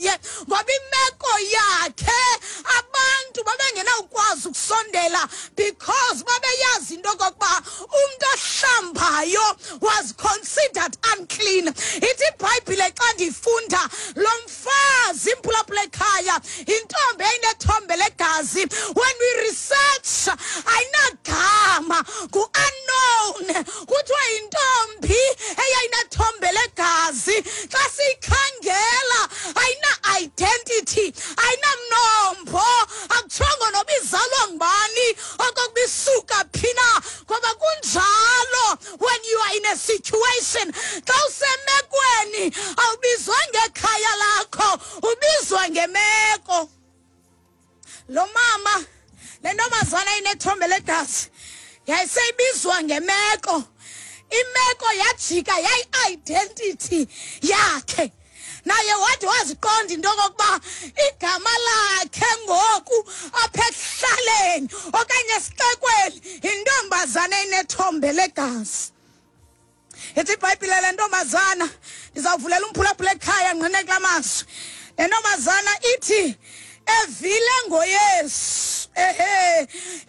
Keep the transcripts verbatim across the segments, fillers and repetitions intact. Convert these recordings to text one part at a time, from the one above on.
naye, ngoba imeko yakhe abantu babengenawukwazi ukusondela, because babeyazi into okokuba umntu ohlambayo was considered unclean. Ithi iBhayibhile xa ndifunda, lo mfazi, imphulaphula ekhaya, intombi eyinethombe legazi, when we research ayinagama, ku-unknown. Kuthiwa yintombi eyayinethombe legazi. Xa siyikhangela ayina-identity, ayinamnombo, akutshongo noba izalwa ngubani, okokuba isuka phi na. Ngoba kunjalo when you are in a situation, xa usemekweni awubizwa ngekhaya lakho, ubizwa ngemeko. Lo mama, le ntombazana inethombe legazi, yayiseyibizwa ngemeko. Imeko yajika yayi-identity yakhe. Naye wathi waziqonda into okokuba igama lakhe ngoku apha ekuhlaleni okanye esixekweni yintombazana enethombe legazi. Ithi iBhayibhile le ntombazana, ndizawuvulela umphulaphula ekhaya ngqine kula mazwi, le ntombazana ithi evile ngoYesu. Ehe,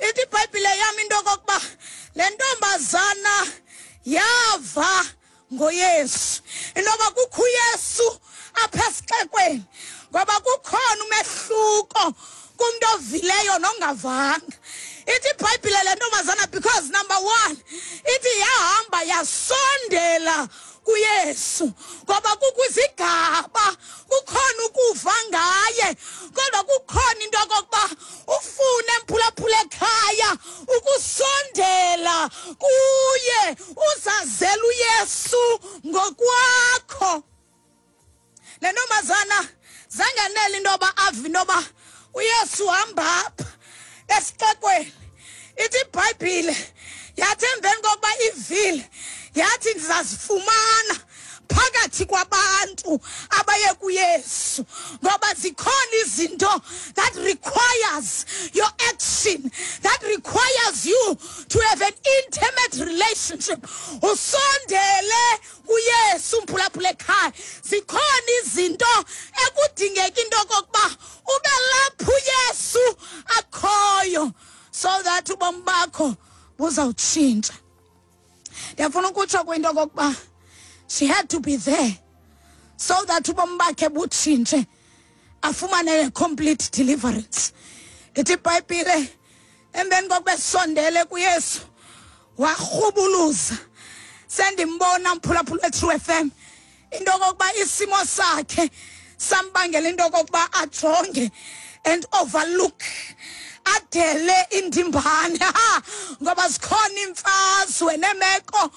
ithi iBhayibhile yam into okokuba le ntombazana yava ngoYesu, inoba kukho uYesu apha esixekweni, ngoba kukhona umehluko kumntu ovileyo nongavanga. Ithi iBhayibhile le ntombazana, because number one, ithi yahamba yasondela kuYesu, ngoba kukho izigaba, kukhona ukuva ngaye, kodwa kukhona into okokuba ufune, mphulaphula ekhaya, ukusondela kuye, uzazela uYesu ngokwakho. Le ntombazana zangenela into yoba ave into yoba uYesu uhamba apha esixekweni. Ithi iBhayibhile yathi emveni kokuba ivile, yathi ndizazifumana phakathi kwabantu abaye kuYesu, ngoba zikhona izinto that requires your action, that requires you to have an intimate relationship, usondele kuYesu, mphulaphula ekhaya. Zikhona izinto ekudingeka into okokuba ube lapho uYesu akhoyo, so that ubomi bakho buzawutshintsha. Ndiyafuna ukutsho kwinto okokuba she had to be there so that ubomi bakhe butshintshe, afumane a complete deliverance. Ithi iBhayibhile emveni kokuba esondele kuYesu warhubuluza. Sendimbona, mphulaphula we-True F M, into okokuba isimo sakhe sambangela into okokuba ajonge and overlook, adele indimbane, ha, ngoba zikhona imfazwe nemeko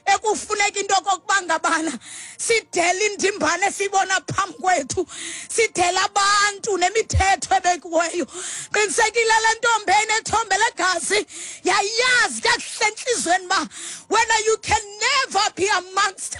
ekufuneka into okokuba ngabana sidele indimbane siyibona phambi kwethu, sidele abantu nemithetho ebekiweyo. Qinisekile le ntombi enethombe legazi yayazi kakuhle entliziyweni uba wena you can never be amongst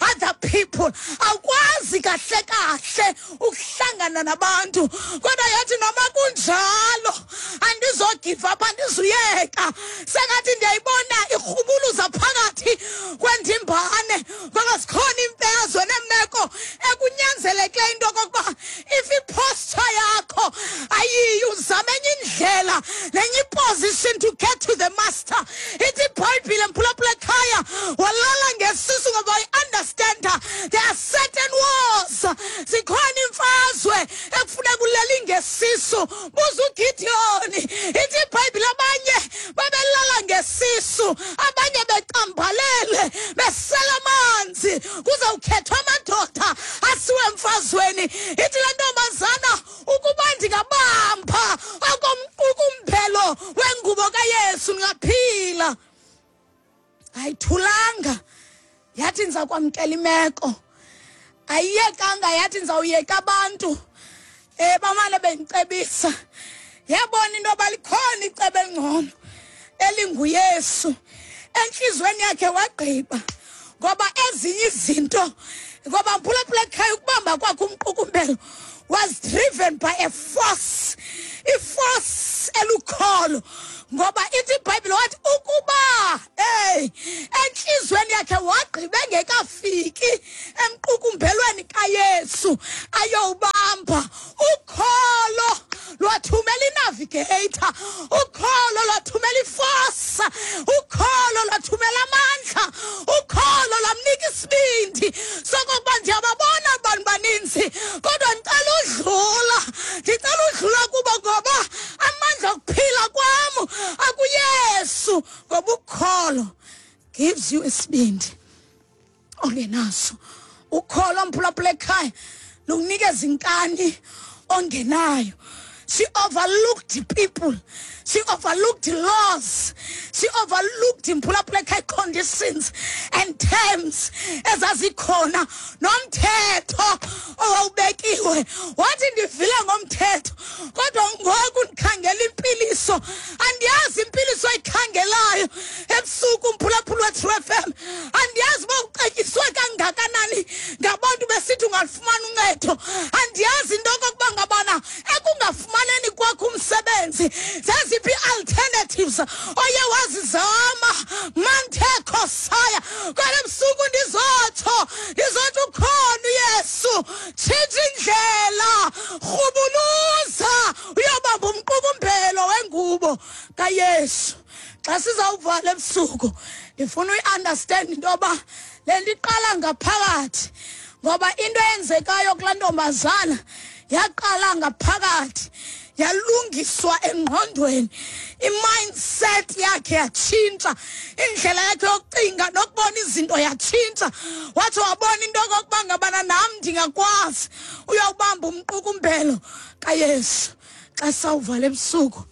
other people, awukwazi kahle kahle ukuhlangana nabantu. Kodwa yathi noma kunjalo andizogive up, andizuyeka. Sengathi ndiyayibona irhubuluza phakathi kwendimbane, ngoba zikhona imfazwe neemeko ekunyanzelekileyo into okokuba if iposture yakho ayiyi, uzame enye indlela nenye iposition to get to the master. Ithi iBhayibhile, mphulaphula ekhaya, walala ngesisu, ngoba i-understanda there are certain wars, zikhona imfazwe ekufuneka ulele ngesisu. Buza uGidiyoni. Ithi iBhayibhile abanye babelala ngesisu, abanye becambalele besela amanzi, kuzawukhethwa amadoda asiwe emfazweni. Ithi le ntombazana, ukuba ndingabamba okomqukumbelo wengubo kaYesu ndingaphila. Ayithulanga, yathi ndiza kwamkela imeko. Ayiyekanga, yathi ndizawuyeka abantu um bamane bendicebisa. Yabona into yoba likhona icebo elingcono elinguYesu. Entliziyweni yakhe wagqiba, ngoba ezinye izinto, ngoba mphulaphula ekhaya, ukubamba kwakhe umqukumbelo was driven by a force, iforce elukholo, ngoba ithi iBhayibhile wathi ukuba hey entliziyweni yakhe wagqiba engekafiki emqukumbelweni kaYesu ayowubamba. wayibamba, ukholo lwathumela inavigator, ukholo lwathumela iforce, ukholo lwathumela amandla, ukholo lwamnika isibindi sokokuba ndiyababona abantu baninzi, kodwa ndicela udlula, ndicela udlula kubo ngoba amandla okuphila kwam akuYesu. Ngoba ukholo gives you isibindi ongenaso. Ukholo, mphulaphula ekhaya, lukunikeza inkani ongenayo. She overlooked people, she overlooked laws, she overlooked, mphulaphula ekhaya, conditions and terms ezazikhona nomthetho owawubekiwe. Wathi ndivile ngomthetho, kodwa ngoku ndikhangela impiliso. Andiyazi impiliso oyikhangelayo ebusuku, mphulaphula we-True F M. Andiyazi uba ucetyiswe kangakanani ngabantu besithi ungalufumana uncedo. Andiyazi into okokuba ngabana ekungafumaneni kwakho umsebenzi zeziphi ii-alternatives oye wazizama manthekho saya. Kodwa ebusuku ndizotsho, ndizotsho ukhona uYesu. Tshintsha indlela, rhubuluza uyobamba umqukumbelo wengubo kaYesu. Xa sizawuvala ebusuku, ndifuna uyi-understand into yoba le nto iqala ngaphakathi, ngoba into eyenzekayo kulaa ntombazana yaqala ngaphakathi, yalungiswa engqondweni, i-mindset yakhe yatshintsha, indlela yakhe yokucinga nokubona izinto yatshintsha. Wathi wabona into okokuba ngabana nam ndingakwazi uyawubamba umqukumbelo kaYesu. Xa sawuvala ebusuku,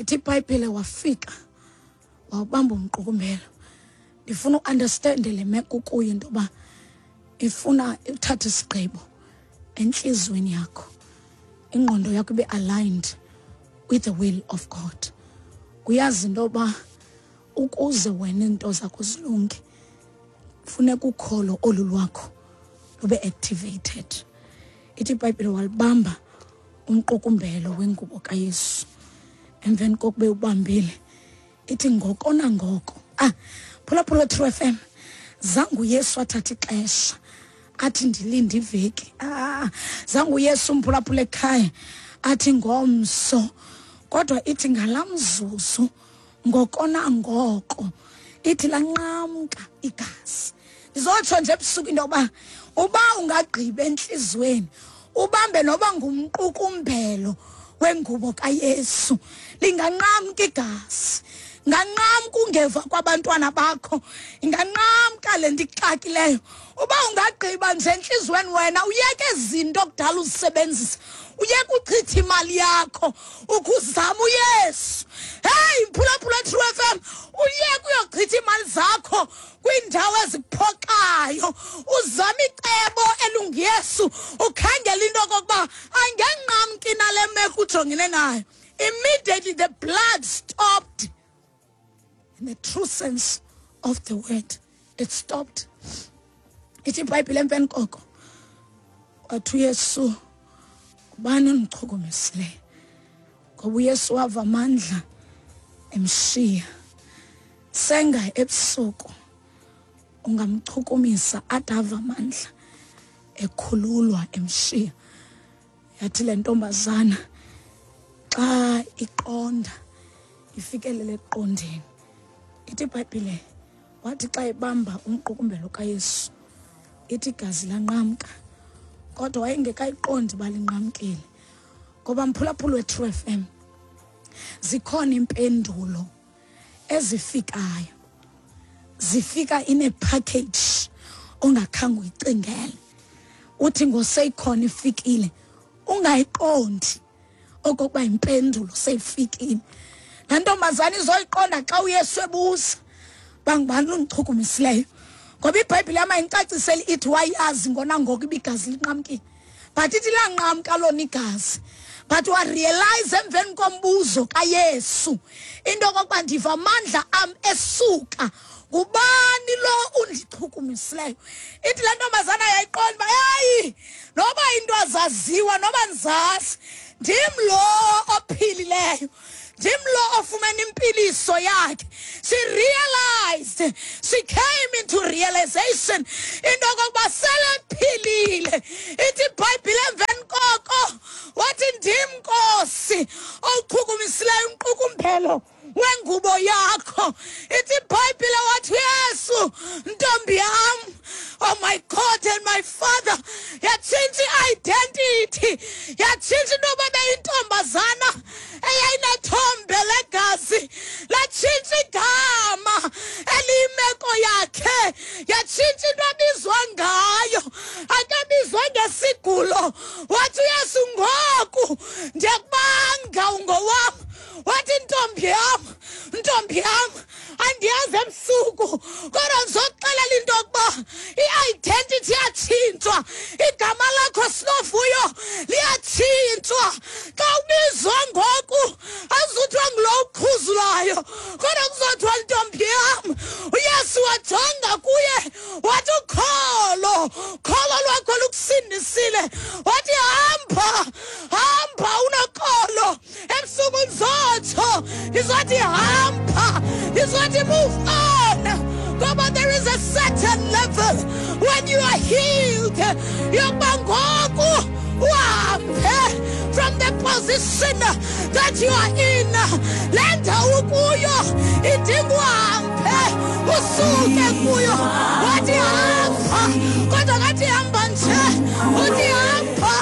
ithi iBhayibhile wafika wawubamba umqukumbelo. Ndifuna uunderstande le meko kuyo, into yoba ifuna uthathe isigqibo entliziyweni yakho, ingqondo yakho ibe aligned with the will of God. Uyazi into yoba ukuze wena iinto zakho zilunge, funeka ukholo olu lwakho lube activated. Ithi iBhayibhile walibamba umqukumbelo wengubo kaYesu. Emveni kokube ubambile, ithi ngoko nangoko, ah, phulaphula True F M, zange uYesu athatha ixesha athi ndilinde iveki. Ah, zange uYesu, umphulaphula ekhaya, athi ngomso, kodwa ithi ngalaa mzuzu, ngoko nangoko, ithi lanqamka igazi. Ndizotsho nje ebusuku into yoba uba ungagqiba entliziyweni ubambe noba ngumqukumbelo wengubo kaYesu, linganqamka igazi, inganqamka ungeva kwabantwana bakho, inganqamka le nto ikuxakileyo. Uba ungagqiba nje entliziyweni wena uyeke izinto kudala uzisebenzisa, uyeke uchitha imali yakho ukuzama uYesu. Heyi, mphulaphula True F M, uyeke uyochitha iimali zakho kwiindawo eziphoxayo, uzame icebo elunguYesu, ukhangela into okokuba angenqamki nale meko ujongene nayo. Immediately the blood stopped. In the true sense of the word, it stopped. Ithi iBhayibhile emveni koko wathi uYesu, "Ubani ondichukumisileyo?" Ngoba uYesu wava amandla emshiya. Senga ebusuku ungamchukumisa ade ave amandla ekhululwa emshiya. Yathi le ntombazana xa iqonda, ifikelele ekuqondeni, ithi iBhayibhile wathi xa ebamba umqukumbelo kaYesu, ithi igazi lanqamka, kodwa wayengekayiqondi uba linqamkile. Ngoba mphulaphula we-True F M, zikhona impendulo ezifikayo, zifika in a package ongakhange uyicingele. Uthi ngoseyikhona ifikile ungayiqondi okokuba impendulo seyifikile. Laa ntombazana izoyiqonda xa uYesu ebuza, "Bangubani undichukumisileyo?" Ngoba iBhayibhile yam ayindicaciseli ithi wayazi ngona ngoku uba igazi linqamkile, but ithi lanqamka lona igazi, but warealize emveni kombuzo kaYesu into okokuba ndiva amandla am esuka, ngubani lo undichukumisileyo? Ithi le ntombazana yayiqonda uba heyi, noba into azaziwa noba ndizazi, ndim lo ophilileyo, ndim lo ofumene impiliso yakhe. She realized, she came into realization into okokuba selephilile. Ithi iBhayibhile emveni imeko yakho. Ithi iBhayibhile wathi Yesu, ntombi yam, oh my God and my Father, yatshintsha i-identity, yatshintsha into yoba beyintombazana eyayinethombe legazi, latshintsha igama eliyimeko yakhe, yatshintsha into abizwa ngayo, akabizwa ngesigulo. Wathi uYesu, ngoku ndiyakubanga ungowam. Wathi ntombi yam, ntombi yam, andiyazi ebusuku, kodwa ndizokuxelela into yokuba i-identity iyatshintshwa, igama lakho Sinovuyo liyatshintshwa. Xa ubizwa ngoku awuzuthiwa ngulo uqhuzulayo, kodwa kuzothiwa ntombi yam. uYesu wajonga kuye wathi ukholo, kholo lwakho lukusindisile. Wathi hamba, hamba unokholo. Ebusuku ndizotsho, ndizothi hamba, ndizothi move on. Ngoba there is a certain level when you are healed, yokuba ngoku uhambe from the position that you are in. Le ndawo kuyo idinga uhambe usuke kuyo. Wathi hamba, kodwa kathi hamba nje, uthi hamba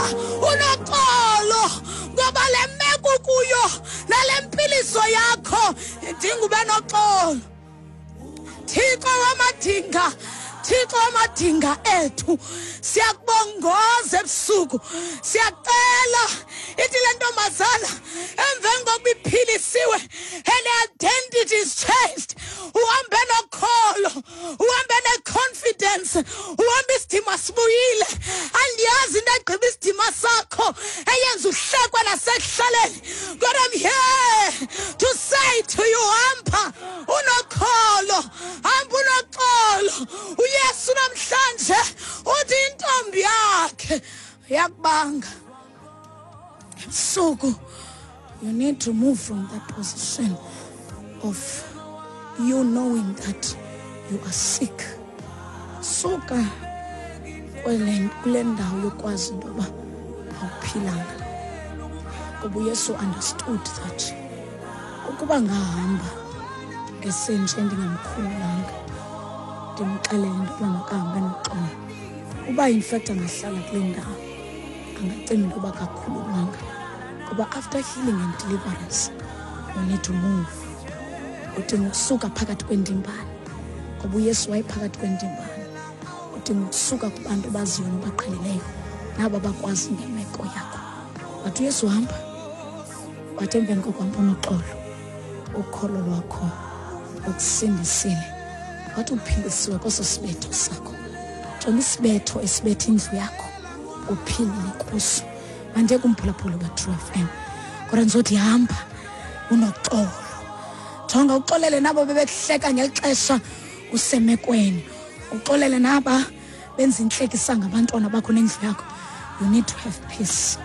unoxolo, ngoba le meko kuyo nale mpiliso yakho idinga ube noxolo. Thixo wamadinga, Thixo wamadinga ethu, siyakubongoza ebusuku, siyacela. Ithi le ntombazana emveni kokuba iphilisiwe, her identity is changed. Uhambe nokholo, uhambe ne-confidence, uhambe isidima sibuyile. Andiyazi into egqiba isidima sakho eyenza uhlekwe nasekuhlaleni, kodwa I'm here to say to you, hamba unokholo, hamba unoxolo. uYesu namhlanje uthi intombi yakhe yakubanga. Ebusuku you need to move from that position of you knowing that you are sick. Suka kule ndawo yokwazi into yoba awuphilanga, ngoba uYesu understood that ukuba ngahamba esenje ndingamkhululanga, ndimxelele into yoba makahambe noxolo, uba in fact angahlala kule ndawo angacinga into yoba kakhululwanga. Ngoba after healing and deliverance you need to move. Udinga ukusuka phakathi kwendimbane, ngoba uYesu wayephakathi kwendimbane. Udinga ukusuka kubantu abaziyo nobaqhelileyo nabo bakwazi ngemeko yakho. Wathi uYesu hamba, wathi emveni kokuhamba unoxolo, ukholo lwakho ukusindisile. Wathi uphilisiwe kweso sibetho sakho. Jonga isibetho esibetha indlu yakho, uphilile kuso. Mandiye kumphulaphula wa-True F M, kodwa ndizothi hamba unoxolo. Jonga uxolele nabo bebekuhleka ngeli xesha usemekweni, uxolele naba benza intlekisa ngabantwana bakho nendlu yakho. You need to have peace.